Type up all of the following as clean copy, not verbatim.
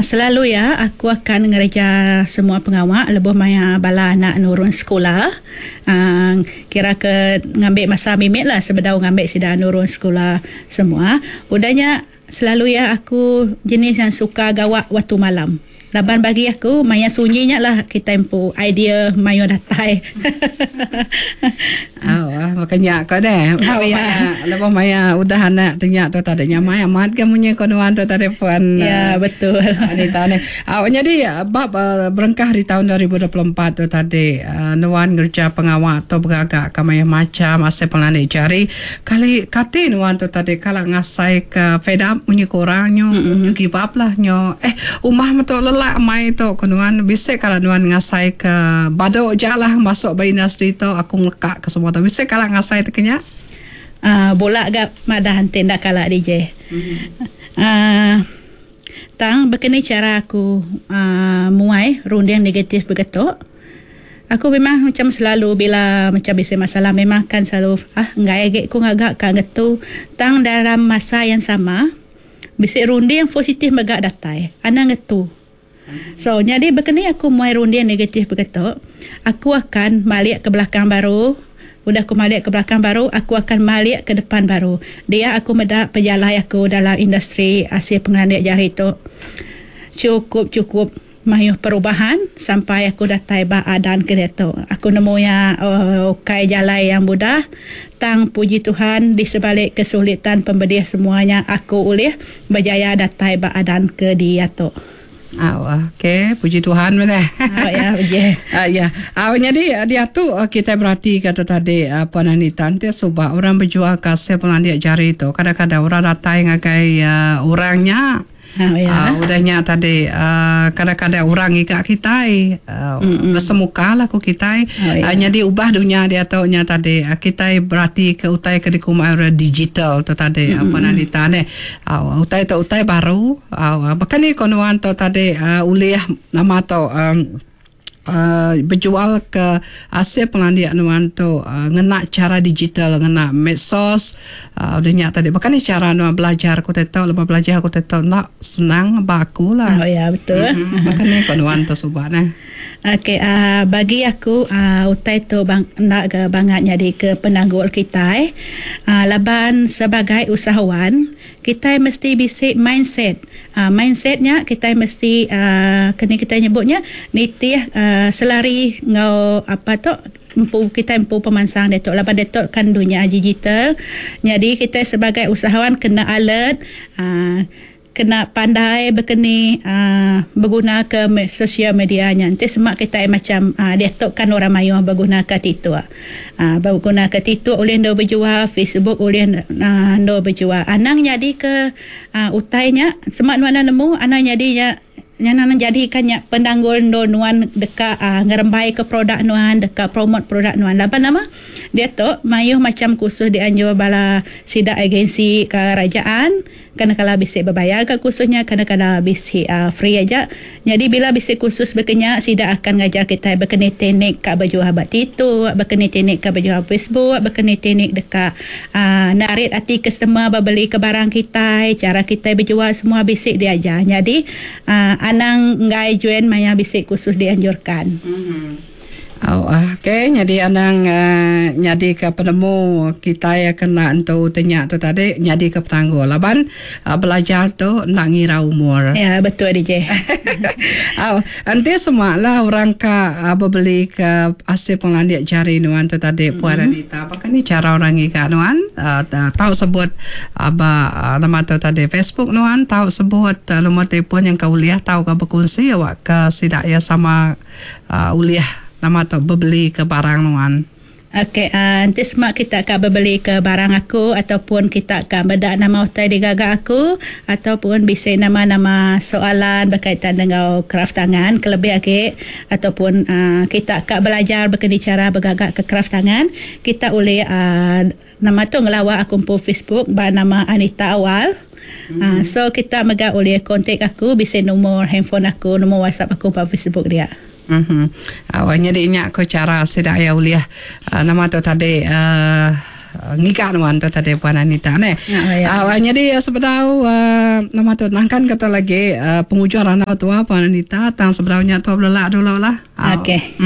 Selalu iya aku akan ngereja semua pengawa lebuh maya bala anak nurun sekula. Kira ke ngambi masa mimit lah sebedau ngambi sida nurun sekula semua. Udah nya selalu iya aku jenis yang suka gawa waktu malam. Laban bagi aku maya sunyi nya lah kitai empu idea mayuh datai. Au baka nya ko deh. Au ya. Lebuh maya udah anak ti nya tu tadi nyamai amat ga munyi ko nuan tu tadi puan. Ya betul. Anita neh. Au nyadi bab berengkah ari taun 2024 tu tadi nuan ngereja pengawa tu begaga ka mayuh macham asil pengelandik jari. Kali kati nuan tu tadi kala ngasai ke fed up munyi ku orang nyu nyu give up lah nyu eh umah metu lelak amai tu ku nuan bisi kala nuan ngasai ke badu ja lah masuk ba industri tu aku ngeleka ke semua tu bisi kala ngasai ti ke nya. Aaa bula ga madah enti enda kala DJ. Aaa tang baka ni chara aku aaa muai runding negatif begitu. Aku memang macam selalu bila macam bisi masalah memang akan selalu ah enggai agi ku ngaga ka ngetu tang dalam masa yang sama bisi runding positif mega datai anang ngetu. So nyadi baka ni aku muai runding negatif begitu aku akan malik ke belakang baru udah aku malik ke belakang baru aku akan malik ke depan baru dia aku meda pejalai aku dalam industri asil pengelandik jari tu chukup chukup. Mayuh perubahan sampai aku datai ba adan ke diatu. Aku nemu iya ukai jalai yang mudah tang puji Tuhan di sebalik kesulitan pembedih semua nya aku ulih berjaya datai ba adan ke diatu. Au ok puji Tuhan meh neh. Au ya puji. Ya. Au nyadi diatu kitai beratika tu tadi Puan Anita enti suba orang bejual ka asil pengelandik jari tu kadang-kadang orang datai ngagai orang nya. Uh, udah nya tadi uh, kadang-kadang orang ngiga kitai uh, besemuka lah ku kitai. Oh, Uh, ya. nyadi ubah dunya diatu nya tadi uh, kitai berati ke utai ke dikumbai orang digital tu tadi mm-hmm. Puan Anita neh. Uh, utai tu utai baru. Uh, baka ni ko nuan tu tadi uh, ulih nama tu um, Bejual ke asil pengelandik nuan tu ngena chara digital ngena medsos udah nya tadi baka ni chara nuan belajar ku ti tu lebuh belajar ku ti tu enda senang ba aku lah. Oh ya betul. Baka ni ko nuan tu suba neh. Okey bagi aku utai tu enda ga bangat nyadi ke penanggul kitai laban sebagai usahawan Kitai mesti bisi mindset. Mindset nya kitai mesti keni kitai nyebut nya nitih selari enggau apa tu empu kitai empu pemansang ditu laban ditu kan dunya digital. Nyadi kitai sebagai usahawan kena alert kena pandai bekeni beguna ke sosial media nya. Enti sema kitai macam diatu kan orang mayuh beguna ke TikTok. Beguna ke TikTok ulih endur bejual, Facebook ulih endur bejual. Anang nyadi ke utai nya sema nuan enda nemu anang nyadi nya anang jadikan nya penanggul endur nuan deka ngerembai ke produk nuan, deka promote produk nuan. Laban nama diatu mayuh macam kursus dianjur bala sida agensi kerajaan. Kena kala bisi bebayar ka kursus nya, kena kala bisi free aja. Nyadi bila bisi kursus baka nya sida akan ngajar kitai baka ni teknik ka bejual ba TikTok, baka ni teknik ka bejual Facebook, baka ni teknik deka narit ati customer bebeli ka barang kitai, chara kitai bejual semua bisi diajar. Nyadi anang enggai join maya bisi kursus dianjurkan. Au ok nyadi anang nyadi ka penemu kitai kena entu ti nya tu tadi nyadi ka penanggul laban belajar tu enda ngira umur. Ya betul DJ. Au enti sema lah orang ka bebeli ka asil pengelandik jari nuan tu tadi Puan Anita baka ni chara orang ngiga nuan tau sebut ba nama tu tadi Facebook nuan tau sebut lumur telefon yang ka ulih tau ka bekunsi awak ka sida iya sama Ulih nama tu bebeli ke barang nuan. Ok enti sema kita ka bebeli ke barang aku ataupun kita ka meda nama utai digaga aku ataupun bisi nama-nama soalan berkaitan enggau kraf tangan kelebih agi ataupun kita ka belajar baka ni chara begaga ke kraf tangan kita ulih nama tu ngelawa aku empu Facebook ba nama Anita Awal. So kita mega ulih kontak aku bisi numur handphone aku numur whatsapp aku ba Facebook dia. Uhh nyadi nya ko chara sida iya ulih nama tu tadi uhh. ngiga nuan tu tadi Puan Anita neh. Uh, jadi sebedau uh, nama tu nangkan kata lagi uh, pengujung randau tua Puan Anita tang sebedau nya tua belelak dulu lah. Okey.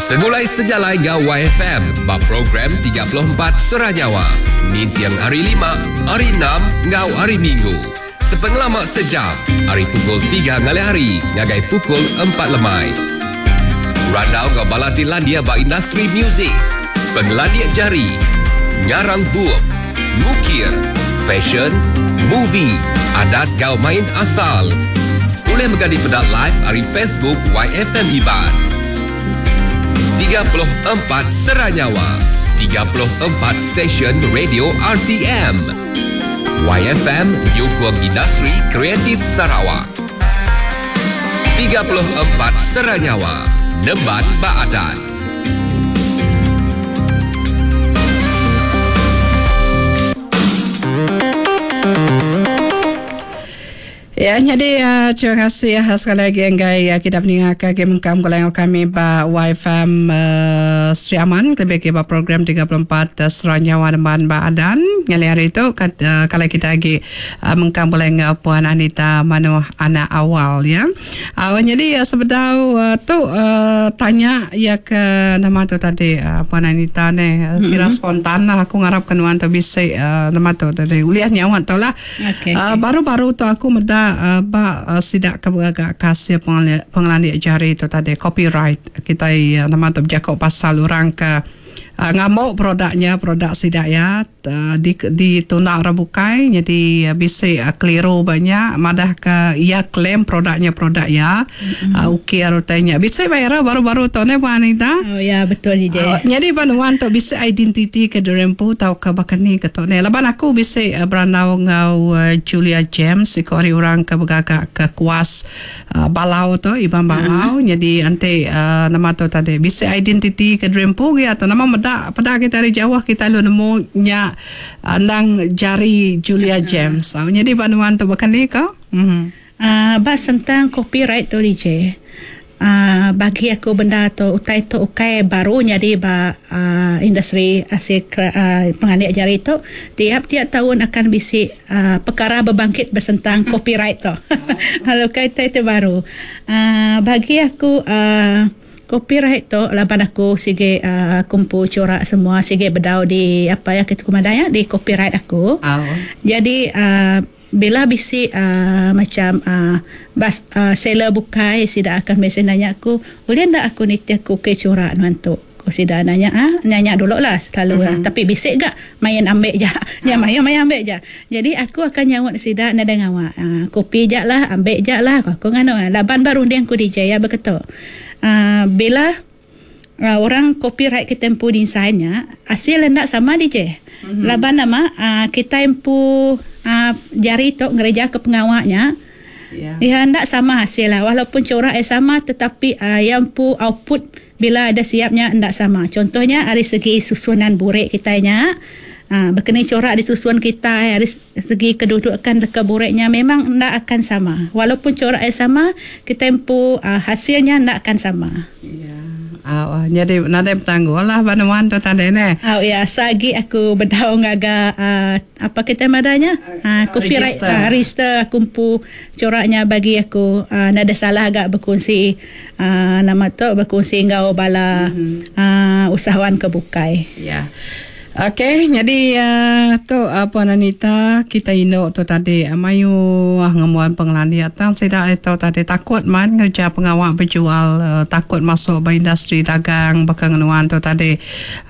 Segulai sejalai enggau YFM ba program 34 Sera Nyawa ninting hari Lima, hari Enam enggau hari Minggu. Sepengelama sejam ari pukul tiga ngalih hari ngagai pukul empat lemai. Randau enggau bala ti landik ba industri muzik, pengelandik jari, ngarang bup, ngukir, fashion, movie, adat enggau main asal. Ulih mega dipeda live ari Facebook YFM Iban. 34 Sera Nyawa, 34 stesen radio RTM. YFM nyukung industri kreatif Sarawak. 34 Sera Nyawa, nemban ba adat. Ya, nyadi uh, terima kasih uh, sekali lagi enggai uh, kita meninggal ke mengkam gulai kami ba YFM uh, Sri Aman lebih ke ba program 34 uh, Seranyawa Deman ba Adan. Ngali hari itu kat, uh, kalau kita lagi uh, mengkam gulai dengan Puan Anita Manuh anak awal ya. Jadi sebedau tu tanya ya ke nama tu tadi Puan Anita ni kira spontan lah aku ngarap ke nuan tu bisi nama tu tadi ulih nyawa tu lah. Okay, okay. Baru-baru tu aku meda ba sida ke begaga ke asil pengelandik jari tu tadi copyright kita nama tu bejaku pasal orang ke ngamuk produknya produk sida ya di ditunda orang bukai nyadi bisi keliru ba nya madah ke iya claim produk nya produk iya ukir utai nya bisi viral baru-baru tu neh Puan Anita. Oh ya betul je. Nyadi ba nuan tu bisi identiti ke diri empu tauka baka ni ke tu neh laban aku bisi berandau enggau Julia James siku ari orang ke begaga ke kuas Balau tu Iban Balau nyadi enti nama tu tadi bisi identiti ke diri empu gia tu nama meda peda kita ari jauh kita lalu nemu nya endang jari Julia James. Nyadi ba nuan tu baka ni ko? Uhh ba sentang copyright tu DJ uhh bagi aku benda tu utai tu ukai baru nyadi ba uhh industri asil pengelandik jari tu tiap tiap taun akan bisi Pekara bebangkit besentang copyright tu. Lalu kai tai ti baru. Aaa bagi aku aaa copyright tu laban aku sigi aaa kumpu chura semua sigi bedau di apa ya ku madah ya di copyright aku. Jadi aaa bila bisi aaa macam aaa bas aaa seller bukai sida akan message nanya aku ulih enda aku nitih ku ke chura nuan tu. Ku sida nanya ah, nanya dulu lah selalu lah. Tapi bisi ga main ambi ja. Nya mayuh main ambi ja. Jadi aku akan nyaut sida nadai ngawa. Aaa kopi ja lah, ambi ja lah ku aku nganu. Laban ba runding ku DJ iya beketu. Aaa bila orang copyright kitai empu design nya, asil enda sama DJ. Laban nama aaa kitai empu aaa jari tu ngereja ke pengawa nya, iya enda sama asil iya. Walaupun corak iya sama tetapi aaa iya empu output Bila ada siap nya enda sama. Contoh nya ari segi susunan burik kitai nya, aaa bekeni corak disusun kitai ari segi kedudukan leka burik nya memang enda akan sama. Walaupun corak iya sama, kitai empu aaa hasil nya enda akan sama. Iya. Au nyadi nadai betanggul lah ba nuan tu tadi neh. Au iya asa agi aku bedau ngaga aaa apa kitai madah nya aaa copyright aaa register aku empu corak nya bagi aku aaa nadai salah ga bekunsi. Nama tu bekunsi enggau bala usahawan ke bukai. Ya. Okey, nyadi tu Puan Anita, kita indu tu tadi mayuh ngembuan pengelandik tang sida itu tadi takut man ngereja pengawa bejual, takut masuk ba industri dagang baka ngenuan tu tadi.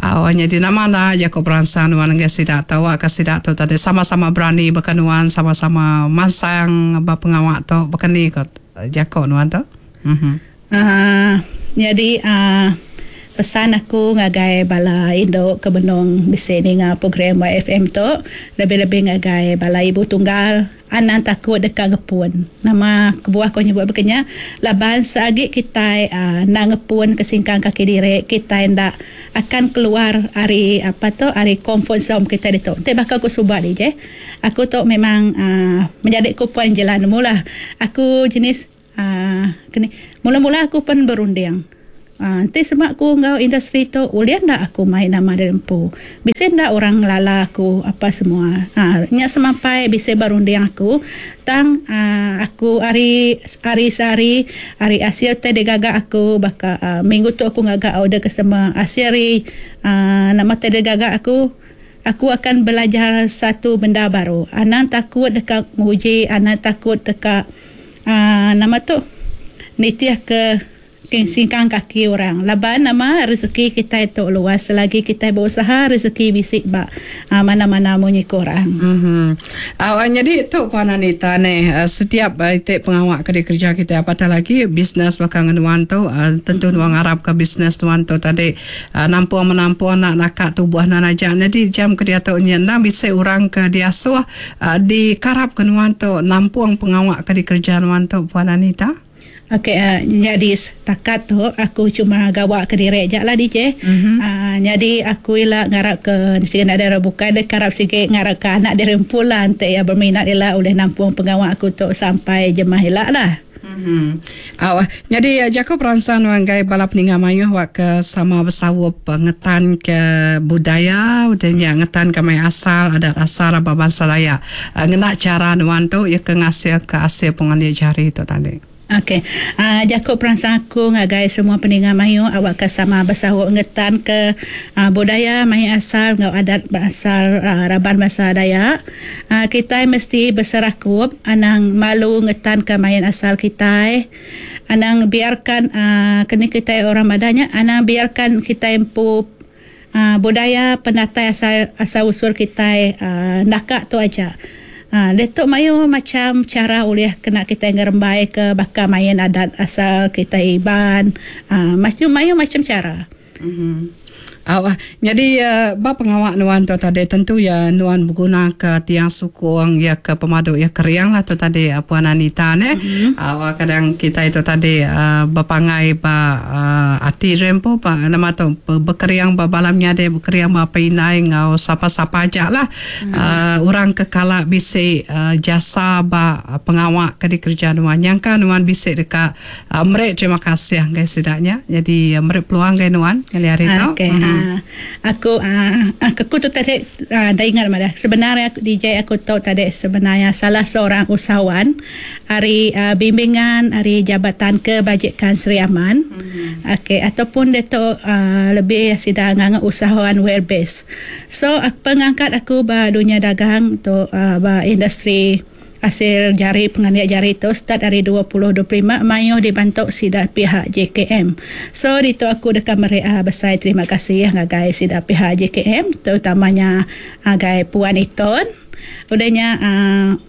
Nyadi nama enda jaku peransang nuan ngagai sida tu awakka sida tu tadi sama-sama berani baka nuan, sama-sama mansang ba pengawa tu baka ni ko jaku nuan tu. Uhh nyadi uhh pesan aku ngagai bala indu ke benung bisi ninga program YFM tu lebih-lebih ngagai bala ibu tunggal anang takut deka ngepun. Nama kebuah ku nyebut baka nya laban seagi kitai uhh enda ngepun ke singkang kaki diri kitai enda akan keluar ari apa tu ari comfort zone kitai ditu. Enti baka ku suba dih je aku tu memang uhh menyadi ku puan jelan nemu lah aku jenis. Aaa keni mula-mula aku pen berunding aaa enti sema aku enggau industri tu ulih enda aku mai nama diri empu. Bisi enda orang ngelala aku apa semua. Aaa nya semampai bisi ba runding aku tang aaa aku ari hari sehari ari asil ti digaga aku baka aaa minggu tu aku ngaga order customer asil ari aaa nama ti digaga aku aku akan belajar satu benda baru. Anang takut deka nguji anang takut deka. Aaa nama tu nitih ke singkang kaki orang laban nama rezeki kitai tu luas selagi kitai berusaha rezeki bisi ba mana mana munyi ku orang. Au nyadi tu puan Anita neh setiap iti pengawa ke dikereja kitai apatah lagi bisnes baka ngan nuan tu tentu nuan ngarap ka bisnes nuan tu tadi nampung menampung enda naka tubuh nuan aja nyadi jam ke diatu nya endang bisi orang ke diasuh Dikarapka nuan tu nampung pengawa ke dikereja nuan tu Puan Anita? Ok nyadi setakat tu aku cuma gawa kediri aja lah DJ. Nyadi aku ila ngarap ke sigi nadai orang bukai deh karap sigi ngarap ke anak diri empu lah enti iya berminat ila ulih nampung pengawa aku tu sampai jemah ila lah. Au nyadi jaku peransang nuan ngagai bala peninga mayuh wak ke sama besaup ngetan ke budaya udah nya ngetan ke main asal adat asal raban bansa Dayak ngena chara nuan tu iya ke ngasil ke asil pengelandik jari tu tadi. Okey aaa jaku peransang aku ngagai semua peninga mayuh awak ke sama besaup ngetan ke budaya main asal enggau adat asal raban bansa Dayak. Kitai mesti beserakup anang malu ngetanka main asal kitai. Anang biarkan keni kitai orang madah nya anang biarkan kitai empu budaya penatai asal asal usul kitai naka tu aja. Diatu mayuh macham chara ulih kena kitai ngerembaika baka main adat asal kitai Iban mayuh macham chara. Au ah. Nyadi ba pengawa nuan tu tadi tentu iya nuan beguna ke tiang sukung iya ke pemadu iya kering lah tu tadi Puan Anita neh. Au kadang kitai tu tadi bepangai ba ati diri empu ba nama tu bekering ba bala menyadi bekering ba apai indai enggau sapa sapa aja lah orang ke kala bisi jasa ba pengawa ke dikereja nuan. Nyangka nuan bisi deka Meri terima kasih ngagai sida nya. Nyadi meri peluang ngagai nuan ngalih hari tu. Okey. Aku aku tu tadi enda ingat madah. Sebenarnya DJ aku tu tadi sebenarnya salah seorang usahawan ari bimbingan ari Jabatan Kebajikan Sri Aman. Okey ataupun ditu lebih sida nganggap usahawan well based. So pengangkat aku ba dunya dagang tu ba industri Asil jari pengelandik jari tu start ari 2025 mayuh dibantu sida pihak JKM. So ditu aku deka meri besai terima kasih ngagai sida pihak JKM terutamanya ngagai Puan Iton. Udah nya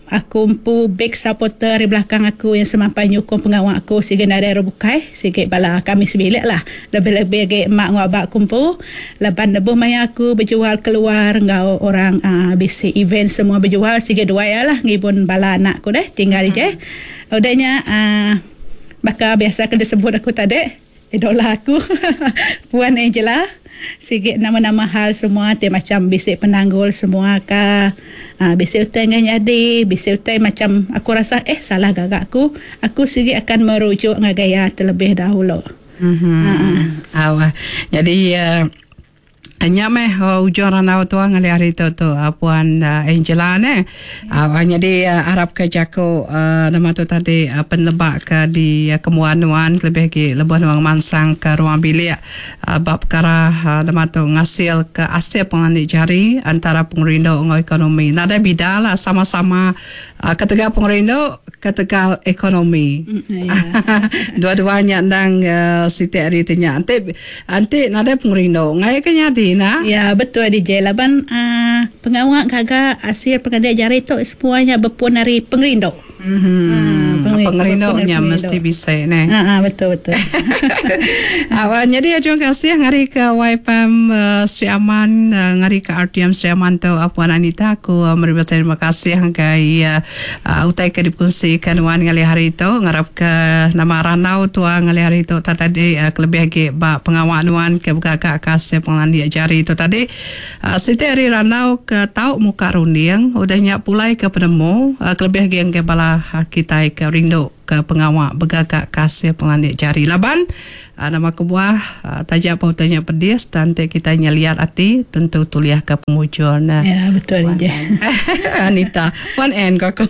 aku empu big supporter ari belakang aku yang semampai nyukung pengawa aku sigi nadai orang bukai sigi bala kami sebilik lah. Lebih-lebih agi mak enggau aba aku empu laban lebuh maya aku bejual keluar enggau orang bisi event semua bejual sigi duai iya lah ngibun bala anak aku deh tinggal ije. Udah nya baka biasa ke disebut aku tadi idola aku Puan Angela sigi nama-nama hal semua ti macam bisi penanggul semua ka bisi utai enggai nyadi bisi utai macam aku rasa eh salah gaga aku, aku sigi akan merujuk ngagai iya terlebih dahulu. Au nyadi nya meh ujung randau tua ngalih hari tu tu Puan Angela neh. Au nyadi arap ke jaku nama tu tadi peneleba ke di kembuan nuan kelebih agi lebuh nuan ngemansang ke ruang bilik ba pekara nama tu ngasil ke asil pengelandik jari antara pengerindu enggau ekonomi. Nadai bida lah sama-sama Ketegal pengerindu, ketegal ekonomi. Dua-dua nya endang siti ari ti nya. Enti enti nadai pengerindu ngagai ke nyadi nah. Ya betul DJ laban uhh pengawa gaga asil pengelandik jari tu semua nya bepun ari pengerindu. Pengerindu nya mesti bisi neh. Haa betul betul. Nyadi terima kasih ngari ke YFM Sri Aman ngari ke RTM Sri Aman tu Puan Anita aku meri besai terima kasih ngagai utai ke dipekunsika nuan ngalih hari tu ngarap ke nama randau tua ngalih hari tu tadi kelebih agi ba pengawa nuan ke begaga ke asil pengelandik jari tu tadi siti ari randau ke tau muka runding udah nya pulai ke penemu kelebih agi ngagai bala kitai ke rindu. ke pengawa begaga kasil pengelandik jari laban nama kebuah taja pa utai nya pedis tang enti kitai nyeliat ati tentu tulih ke pemujur ne. Ya betul Puan je. Anita, Puan Ann ko aku.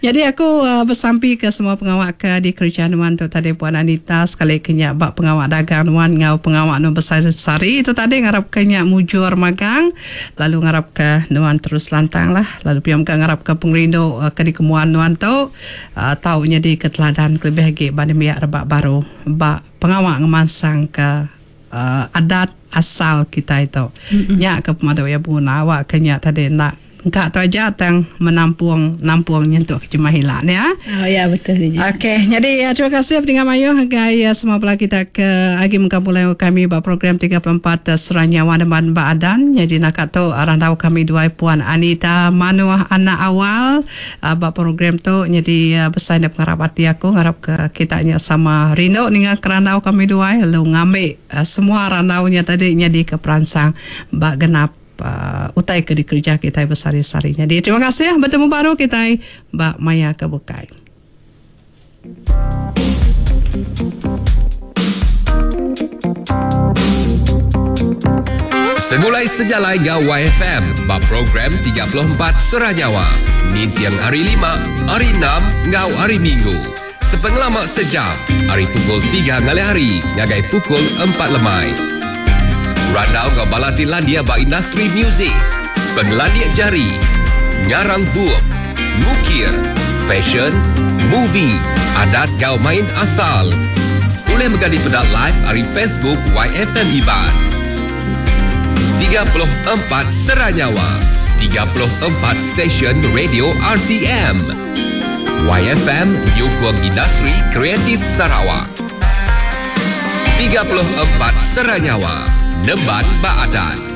Nyadi aku besampi ke semua pengawa ke dikereja nuan tu tadi Puan Anita sekali ke nya ba pengawa dagang nuan enggau pengawa nuan besari-sari tu tadi ngarap ke nya mujur magang lalu ngarap ke nuan terus lantang lah lalu pia mega ngarap ke pengerindu ke dikemuan nuan tu tau nyadi ke teladan kelebih agi ba nembiak rebak baru ba pengawa ngemansang ke adat asal kitai tu. Nya ke pemadu iya beguna awak ke nya tadi enda engka tu aja tang menampung nampung nyentuk ke jemah ila ne ah. Oh ya betul nya. Okey nyadi terima kasih peninga mayuh ngagai semua bala kita ke agi mega pulai enggau kami ba program 34 Sera Nyawa Neban ba Adan. Nyadi naka tu randau kami duai Puan Anita Manoh Anak Awal ba program tu nyadi besai enda pengarap ati aku ngarap ke kita nya sama rindu ninga kerandau kami duai lalu ngambi semua randau nya tadi nyadi ke peransang ba genap utai ke dikereja kitai besehari-sehari. Nyadi terima kasih betemu baru kitai ba maya ke bukai. Segulai sejalai enggau YFM ba program 34 Serah Nyawa ninting Hari Lima, Hari Enam enggau Hari Minggu sepengelama sejam ari pukul tiga ngalih hari ngagai pukul empat lemai. Randau enggau bala ti landik ba industri muzik, pengelandik jari, ngarang bup, ngukir, fashion, movie, adat enggau main asal. Ulih mega dipeda live ari Facebook YFM Iban. 34 Sera Nyawa, 34 stesen radio RTM. YFM nyukung industri kreatif Sarawak. 34 Sera Nyawa, nemban ba adat.